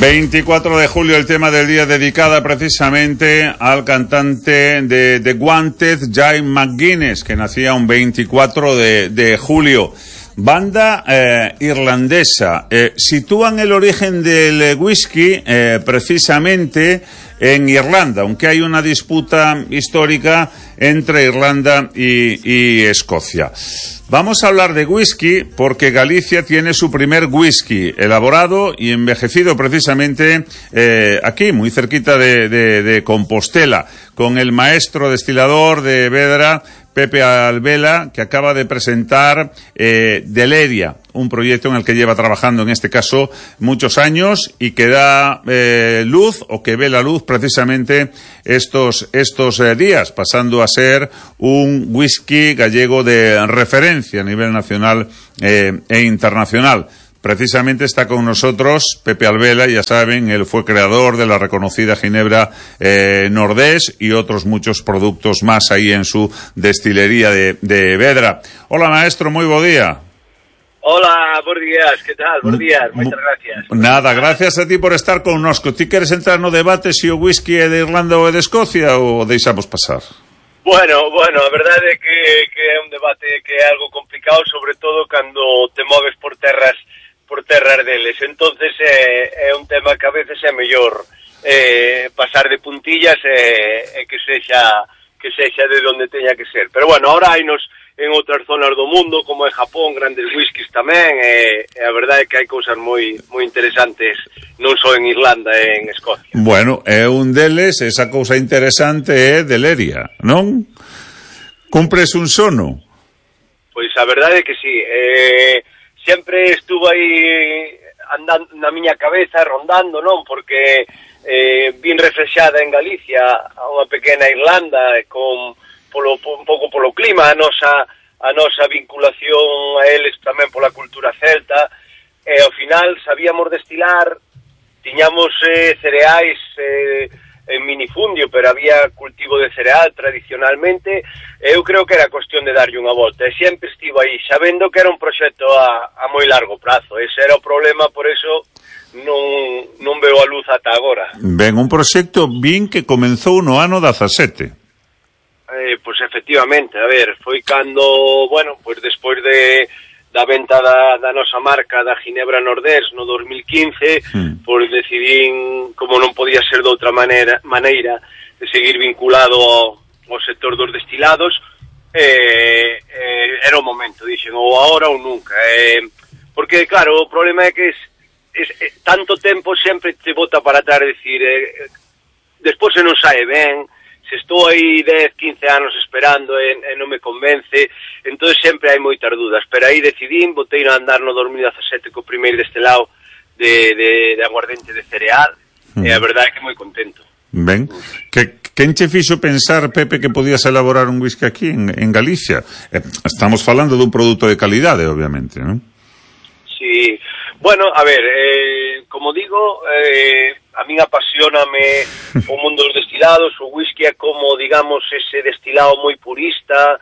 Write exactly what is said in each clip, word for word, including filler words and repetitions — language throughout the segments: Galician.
veinticuatro de julio, el tema del día dedicada precisamente al cantante de The Wanted, Jay McGuinness, que nacía un veinticuatro de julio. Banda eh, irlandesa. Eh, sitúan el origen del whisky eh, precisamente en Irlanda, aunque hay una disputa histórica entre Irlanda y, y Escocia. Vamos a hablar de whisky porque Galicia tiene su primer whisky elaborado y envejecido precisamente eh, aquí, muy cerquita de, de, de Compostela, con el maestro destilador de Vedra, Pepe Albela, que acaba de presentar eh, Deleria, un proyecto en el que lleva trabajando en este caso muchos años y que da eh, luz o que ve la luz precisamente estos estos eh, días, pasando a ser un whisky gallego de referencia a nivel nacional eh, e internacional. Precisamente está con nosotros Pepe Albela, ya saben, él fue creador de la reconocida Ginebra eh, Nordés y otros muchos productos más ahí en su destilería de, de Vedra. Hola, maestro, muy buen día. Hola, buenos días, ¿qué tal? Buenos días, muchas gracias. Nada, gracias a ti por estar con nosco. ¿Ti queres entrar no debate se o whisky é de Irlanda ou é de Escocia ou deixamos pasar? Bueno, bueno, a verdade é que, que é un debate que é algo complicado, sobre todo cando te moves por terras por terras deles, entonces é, é un tema que a veces é mellor eh, pasar de puntillas e eh, que sexa que sexa de donde teña que ser, pero bueno, ahora hainos en outras zonas do mundo, como é Japón, grandes whiskies tamén, e, e a verdade é que hai cousas moi moi interesantes, non só en Irlanda, e en Escocia. Bueno, é un deles, esa cousa interesante é Deleria, non? Cumpres un sono? Pois a verdade é que sí, eh, sempre estuvo aí andando na miña cabeza, rondando, non? Porque eh, vin reflexada en Galicia a unha pequena Irlanda con polo un pouco polo clima, a nosa a nosa vinculación a eles tamén pola cultura celta, e ao final sabíamos destilar, tiñamos eh, cereais eh, en minifundio, pero había cultivo de cereal tradicionalmente. Eu creo que era cuestión de darlle unha volta, e sempre estivo aí, sabendo que era un proxecto a, a moi largo prazo. Ese era o problema, por eso non, non veo a luz ata agora. Ben, un proxecto bin que comenzou no ano dezasete. Eh, pois efectivamente, a ver, foi cando, bueno, pois despois de da venta da, da nosa marca da Ginebra Nordés no dos mil quince, mm. pois decidín, como non podía ser de outra maneira, maneira de seguir vinculado ao, ao sector dos destilados, eh, eh, era o momento, dixen, ou agora ou nunca, eh, porque claro, o problema é que es, es, es, tanto tempo sempre te bota para atrás, decir, eh, despois se non sae ben, se estou aí dez, quince anos esperando e, e non me convence, entón sempre hai moitas dudas, pero aí decidín, botei a andar no dos mil dezasete co primeiro destelado de, de, de aguardente de cereal, mm. e a verdade é que moi contento. Ben, que, quen che fixo pensar, Pepe, que podías elaborar un whisky aquí en, en Galicia? Eh, estamos falando dun produto de calidade, obviamente, non? Sí, bueno, a ver, eh, como digo, eh, a min apasioname o mundo dos destilados, o whisky é como, digamos, ese destilado moi purista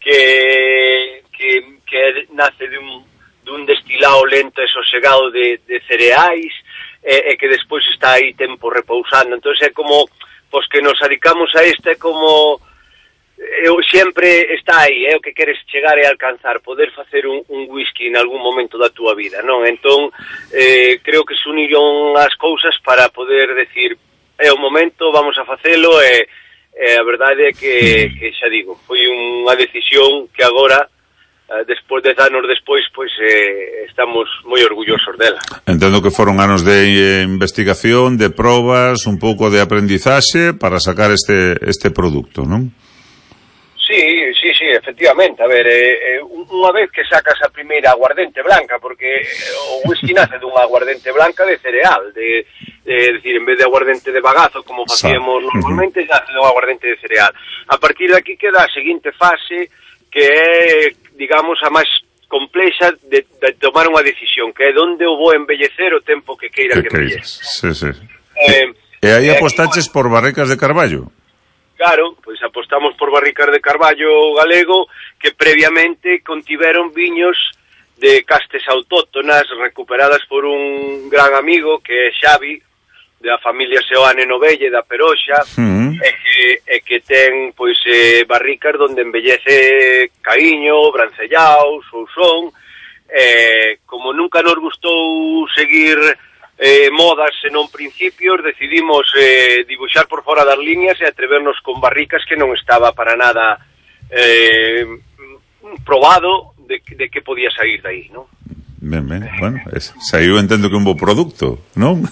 que, que, que nace dun, dun destilado lento e sosegado de, de cereais e, e que despois está aí tempo repousando. Entón é como, pois que nos adicamos a este, é como eu sempre está aí, é o que queres chegar e alcanzar, poder facer un, un whisky en algún momento da túa vida, non? Entón, eh, creo que se uniron as cousas para poder decir, é o momento, vamos a facelo, e, e a verdade é que, que xa digo, foi unha decisión que agora, despois de anos despois, pois eh, estamos moi orgullosos dela. Entendo que foron anos de eh, investigación, de probas, un pouco de aprendizaxe para sacar este, este producto, non? Sí, sí, sí, efectivamente. A ver, eh, unha vez que sacas a primeira aguardente blanca, porque o whisky nace dunha aguardente blanca de cereal, de, de decir, en vez de aguardente de bagazo, como facíamos normalmente, nace dunha aguardente de cereal. A partir de aquí queda a seguinte fase, que é, digamos, a máis complexa de, de tomar unha decisión, que é onde eu vou embellecer o tempo que queira que, que embellece. Sí, sí. Eh, e aí apostaches por barricas de carballo? Claro, pois apostamos por barricas de carballo galego que previamente contiveron viños de castes autóctonas recuperadas por un gran amigo que é Xavi, da familia Seoane Novelle, da Peroxa, uh-huh. e, que, e que ten pois eh, barricas donde embellece Caíño, Brancellao, Sousón. Eh, como nunca nos gustou seguir eh, modas senón principios, decidimos eh, dibuixar por fora das líneas e atrevernos con barricas que non estaba para nada eh, probado de, de que podía sair dai, non? Ben, ben, bueno, es, saiu entendo que un bo produto, non?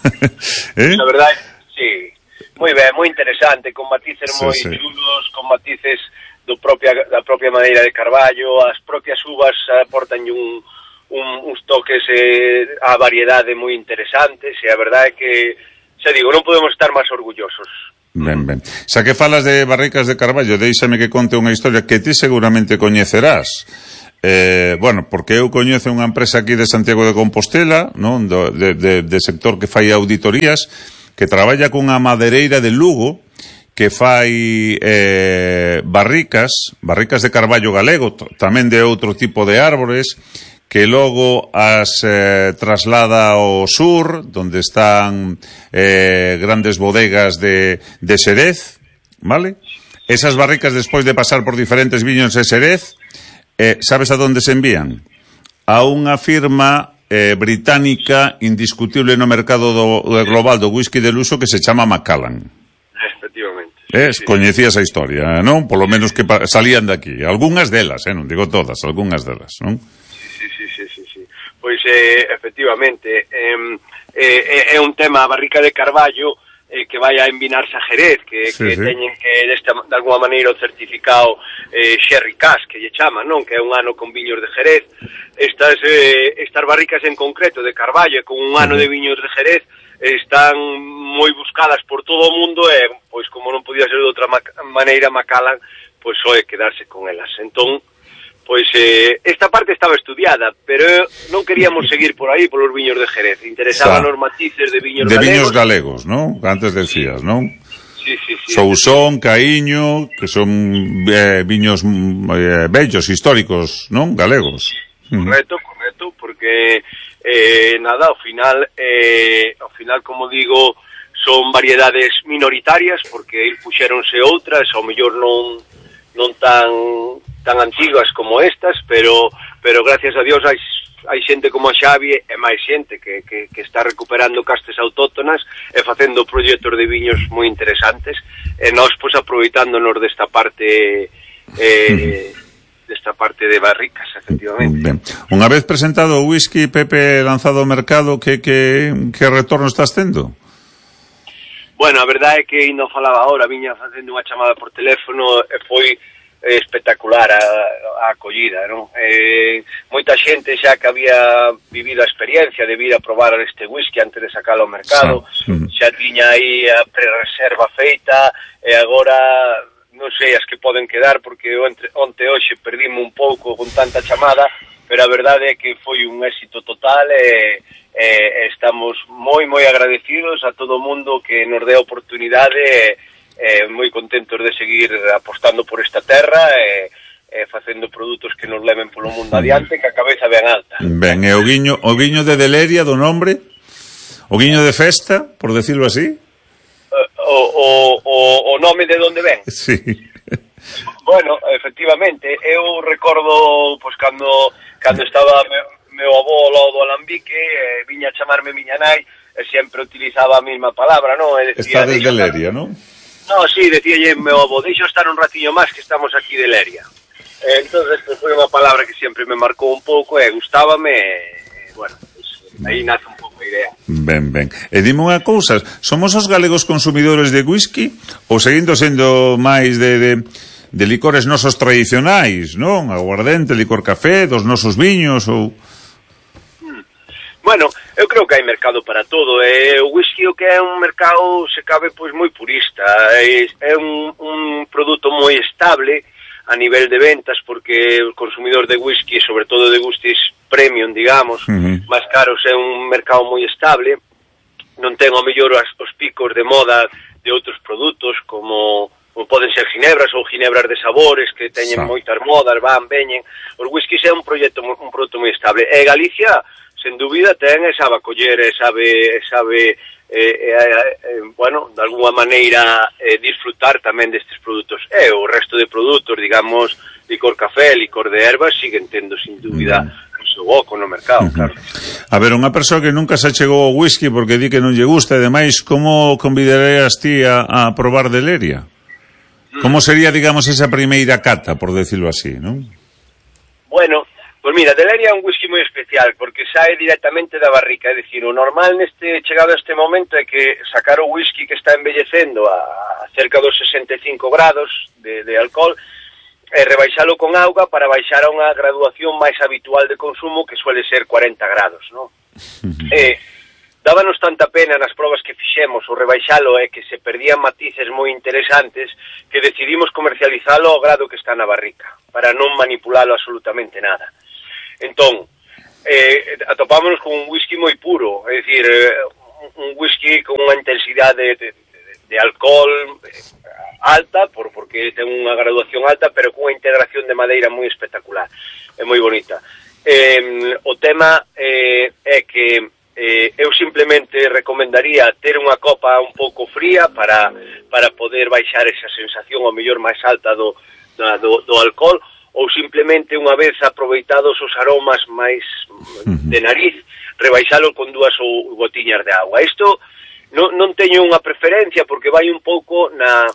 eh? La verdade, sí, moi ben, moi interesante, con matices sí, moi sí. chulos, con matices do propia, da propia maneira de Carballo, as propias uvas aportan un, un, uns toques eh, a variedade moi interesantes, e a verdade é que, xa digo, non podemos estar máis orgullosos. Ben, ben. Xa que falas de barricas de Carballo, déixame que conte unha historia que ti seguramente coñecerás. Eh, bueno, porque eu coñezo unha empresa aquí de Santiago de Compostela, non, do, de, de, de sector que fai auditorías, que traballa cunha madereira de Lugo, que fai eh, barricas, barricas de carballo galego, tamén de outro tipo de árbores, que logo as eh, traslada ao sur, donde están eh, grandes bodegas de, de Xerez, vale? Esas barricas, despois de pasar por diferentes viños de Xerez, Eh, sabes a donde se envían? A unha firma eh, británica indiscutible no mercado do, do global do whisky de luxo que se chama Macallan. Efectivamente. Eh, sí. Coñecías a historia, non? Polo menos que salían de aquí. Algúnas delas, eh, non digo todas, algúnas delas, non? Sí, sí, sí, sí, sí. Pois, eh, efectivamente, eh, eh, é un tema, a barrica de Carballo, eh, que vai a envinarse a Jerez, que, sí, que sí. teñen que, desta, de alguma maneira, o certificado eh, Sherry Cask, que lle chaman, non? Que é un ano con viños de Jerez. Estas, eh, estas barricas en concreto de Carballo, con un ano uh-huh. de viños de Jerez, están moi buscadas por todo o mundo e, pois, como non podía ser de outra ma- maneira, Macallan, pois, soe quedarse con elas. Entón, pois, eh, esta parte estaba estudiada, pero non queríamos seguir por aí, polos viños de Jerez. Interesaban os matices de viños de galegos. De viños galegos, non? Antes decías, non? Sí, sí, sí. Sousón, Caíño, que son eh, viños eh, bellos, históricos, non? Galegos. Sí, correcto, correcto, porque eh, nada, ao final, eh, ao final, como digo, son variedades minoritarias, porque puxéronse outras, ao mellor non, non tan... tan antiguas como estas, pero pero gracias a Dios hai, hai xente como a Xavi e máis xente que, que, que está recuperando castes autóctonas e facendo proxectos de viños moi interesantes e nós pois aproveitándonos desta parte eh, desta parte de barricas, efectivamente. Ben. Unha vez presentado o whisky, Pepe, lanzado ao mercado, que, que, que retorno estás tendo? Bueno, a verdade é que ainda falaba ahora, viña facendo unha chamada por teléfono e foi espectacular a, a acollida, non? Eh, moita xente xa que había vivido a experiencia de vir a probar este whisky antes de sacarlo ao mercado, sí. xa tiña aí a pre-reserva feita e agora non sei as que poden quedar porque onte, onte hoxe perdíme un pouco con tanta chamada, pero a verdade é que foi un éxito total e, e estamos moi moi agradecidos a todo o mundo que nos dé a oportunidade e Eh, moi contentos de seguir apostando por esta terra e eh, eh, facendo produtos que nos leven polo mundo adiante, que a cabeza ben alta. Ben, e o guiño, o guiño de Deleria do nombre? O guiño de festa, por decirlo así? Uh, o, o, o, o nome de onde ven? Sí. Bueno, efectivamente, eu recordo, pois, cando, cando estaba meu, meu avó ao lado do alambique, eh, viña a chamarme miña nai, e sempre utilizaba a mesma palabra, non? E Está decía, desde Deleria, non? No, sí, decíalle meu avó, deixo estar un ratiño máis que estamos aquí de Leria. Eh, entonces, pues, foi unha palabra que sempre me marcou un pouco e gustábame, e, bueno, pues, aí nace un pouco a idea. Ben, ben. E dime unha cousa, somos os galegos consumidores de whisky ou seguindo sendo máis de, de, de licores nosos tradicionais, non? Aguardente, licor café, dos nosos viños ou... Bueno, eu creo que hai mercado para todo, e o whisky o que é un mercado, se cabe, pois moi purista, é, é un, un produto moi estable a nivel de ventas, porque o consumidor de whisky, sobre todo de whiskies premium, digamos, uh-huh. máis caros, é un mercado moi estable, non ten ao mellor as, os picos de moda de outros produtos, como poden ser ginebras ou ginebras de sabores que teñen moitas modas, van, veñen. Os whiskies é un proxecto, un produto moi estable. E Galicia, sen dúbida, ten e sabe acoller, e sabe, sabe eh, eh, eh, bueno, de alguna maneira eh, disfrutar tamén destes produtos. E o resto de produtos, digamos, licor café, licor de ervas, siguen tendo, sin dúbida, o seu oco no mercado, uh-huh. claro. A ver, unha persoa que nunca se chegou ao whisky porque di que non lle gusta, e demais, como convidarías ti a, a probar de Leria? Como sería, digamos, esa primeira cata, por decirlo así, non? Bueno, pois mira, de Leria é un whisky moi especial, porque sae directamente da barrica, é dicir, o normal neste chegado a este momento é que sacar o whisky que está envellecendo a cerca dos sesenta e cinco grados de, de alcohol, e rebaixalo con auga para baixar a unha graduación máis habitual de consumo, que suele ser cuarenta grados, non? E dábanos tanta pena nas probas que fixemos o rebaixalo é que se perdían matices moi interesantes que decidimos comercializalo ao grado que está na barrica, para non manipulalo absolutamente nada. Entón, eh, atopámonos con un whisky moi puro, é dicir, eh, un whisky con unha intensidade de, de, de alcohol eh, alta, por, porque ten unha graduación alta, pero cunha integración de madeira moi espectacular, é moi bonita. Eh, o tema eh, é que eh, eu simplemente recomendaría ter unha copa un pouco fría para, para poder baixar esa sensación ao mellor máis alta do, do, do alcohol, ou simplemente unha vez aproveitados os aromas máis de nariz, rebaixalo con dúas ou gotiñas de agua. Isto non, non teño unha preferencia porque vai un pouco na,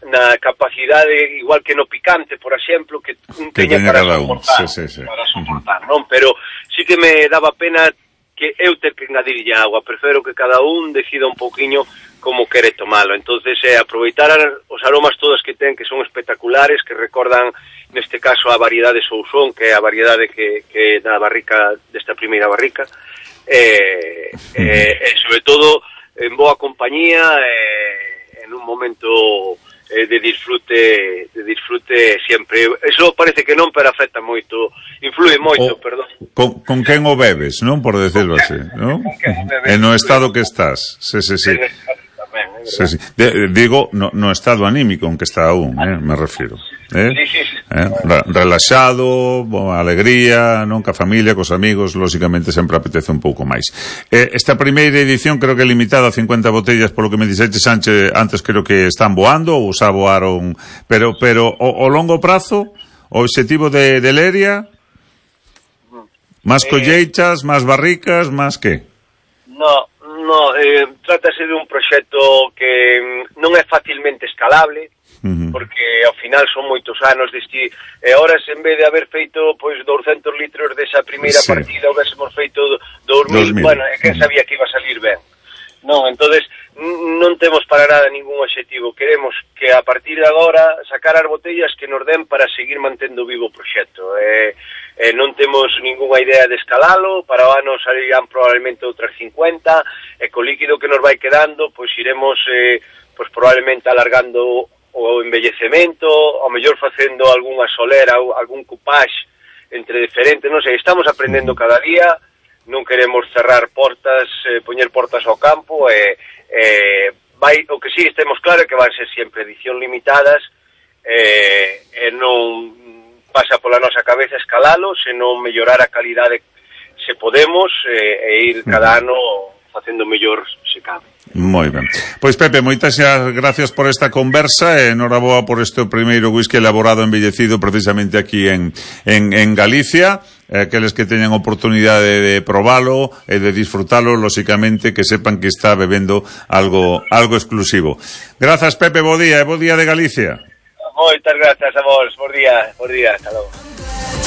na capacidade, igual que no picante, por exemplo, que un teña para soportar, sí, sí, sí. para soportar, non? Pero sí que me daba pena que eu ter que engadirlle agua, prefiro que cada un decida un pouquiño como quere tomalo. Entonces, eh, aproveitar os aromas todos que ten, que son espectaculares, que recordan, neste caso, a variedade Sousón, que é a variedade que, que da barrica, desta primeira barrica, e, eh, eh, sobre todo, en boa compañía, eh, en un momento eh, de disfrute de disfrute sempre. Eso parece que non, pero afecta moito, influe moito, o, perdón. Con, con quen o bebes, non? Por decirlo así, non? En o estado que estás. Sí, sí, sí. Sí, sí. De, digo, no, no estado anímico en que está aún, eh, me refiro. Eh? Sí, sí, sí. Eh? Relaxado, boa alegría, non? Ca familia, cos amigos, lógicamente sempre apetece un pouco máis. Eh, esta primeira edición creo que é limitada a cincuenta botellas, polo que me dixete, Sánchez, antes creo que están voando, ou xa voaron, pero pero o, o longo prazo, o obxectivo de, de Leria, máis colleitas, máis barricas, máis que? No, no, eh, trátase de un proxecto que non é facilmente escalable, uh-huh. porque ao final son moitos anos deste, e horas en vez de haber feito pois douscentos litros desa primeira sí. partida, houvésemos feito dous mil, bueno, é que sabía que iba a salir ben. Non, entonces non temos para nada ningún obxectivo, queremos que a partir de agora sacar as botellas que nos den para seguir mantendo vivo o proxecto. Eh, eh, non temos ningunha idea de escalalo, para o ano salirán probablemente outras cincuenta, e co líquido que nos vai quedando, pois iremos eh, pois probablemente alargando o embellecemento, ao mellor facendo algunha solera ou algún coupage entre diferentes, non sei, estamos aprendendo cada día, non queremos cerrar portas, eh, poñer portas ao campo, e eh, vai, o que sí estemos claro é que van ser sempre edición limitadas, e eh, eh, non pasa pola nosa cabeza escalalo, senón mellorar a calidade se podemos, eh, e ir cada ano facendo mellor se cabe. Moi ben. Pois Pepe, moitas gracias por esta conversa e enhoraboa por este primeiro whisky elaborado embellecido precisamente aquí en, en, en Galicia. Eh, aqueles que teñan oportunidade de probalo e de disfrutalo, lóxicamente que sepan que está bebendo algo algo exclusivo. Grazas Pepe, bo día e bo día de Galicia. Moitas grazas a vos, bo día, bo día, hasta logo.